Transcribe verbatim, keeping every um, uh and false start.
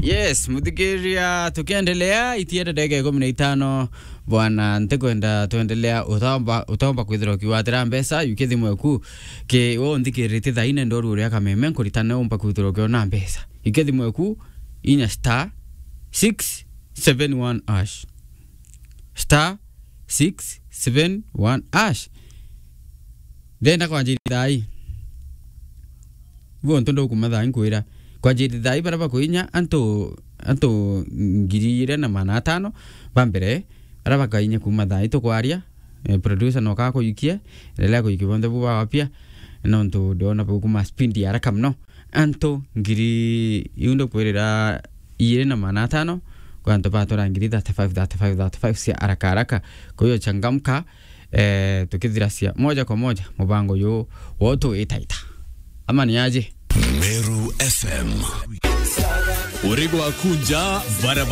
Yes, muthikiria, tukiendelea, itienda ndagika ikumi na itano, bwana, ntikwenda twendelea, utaomba, utaomba kwithirwa ukiwatira mbeca, yukia thimu eku, ki wo nthikiritie thaine ndoru uria kameme, nkuritane umba kwithirwa ukiona mbeca. Yukia thimu eku, inya star six seven one hash. Star six seven one hash. Ndenda kwanjirithia thaa ii. Ibu untu ndukuma thaa ii nkwira. Kwanjirithia thaa ii baria bakuinya antu, antu ngiri iri na magana atano ba mbere, baria bakainya kuma thaa ii tukwaria, eh, producer noka akuikie, endelea kuikia bonthe bu bawapia, nontu ndiona bukuma speed ya haraka muno. Antu ngiri iu ndukwirira iri na magana atano, kwa antu batura ngiri thirty-five, thirty-five, thirty-five cia haraka haraka. Kwa hiyo changamka, eh, tukithiracia moja kwa moja mubango uyu wotu itaita. Ama ni aje? Meru F M. Uri gwaku nja, barabara